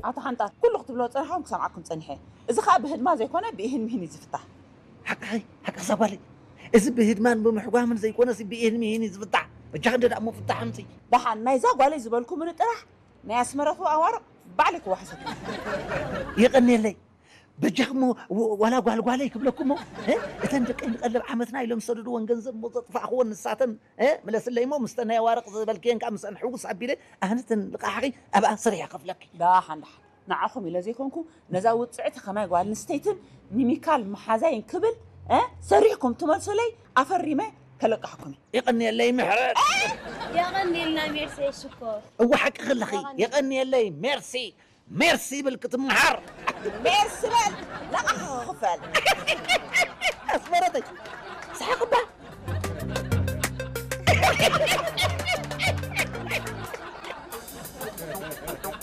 ኣቶ ሓንጣ፣ ኩሉ ክትብሎ ዝጸናሕኩም ክሰምዓኩም ጸኒሐ። እዚ ኸኣ ብህድማ ዘይኮነ ብኢህን ሚህን እዩ ዝፍታሕ። ሓቅኺ፣ ሓቅኺ እዛ ጓለይ። እዚ ብህድማን ብምሕጓምን ዘይኮነሲ ብኢህን ሚህን እዩ ዝፍታሕ። በጃኺ እንደ ደኣ እሞ ፍታሕ ኣምፅኢ። ደሓን ናይዛ ጓለይ ዝበልኩምኒ ጥራሕ ናይ ኣስመረቱ ኣዋርቕ ባዕለይ ክወሓሰኩም። የቐንየለይ። በጃኺ እሞ ወ-፣ ዋላ ጓልጓለይ ክብለኩም እሞ፣ እ? እተን ደቀይ ንቐልብ ዓመትና ኢሎም ዝሰደድወን ገንዘብ እሞ ዘጥፋእኽወን ንሳተን፣ እ? ምለስለይ እሞ ምስተን ናይ ኣዋርቕ ዝበልክየን ከዓ ምስአን ሕውስ ኣቢለ ኣነ እተን ልቓሕኺ ኣብኣ ሰሪሐ ከፍለኪ። ደሓን ደሓን። ንዓኹም ኢለ ዘይኮንኩ ነዛ ውጽዕቲ ከማይ ጓል ኣንስተይትን ሚሚካል መሓዛይን ክብል፣ እ? ሰሪሕኩም ትመልሱለይ ኣፈሪመ ከለቅሓኩም እየ። የቐንየለይ ምሕረት። የቐንየልና ሜርሲ ሽኮር። እወ ሓቂ ከለኺ። የቐንየለይ ሜርሲ። ሜርሲ ይብል ክትምሃር። ሜርሲ በል፣ ለቓሒ ክኽፈል። ኣስመረተይ፣ ስሓቕ እባ።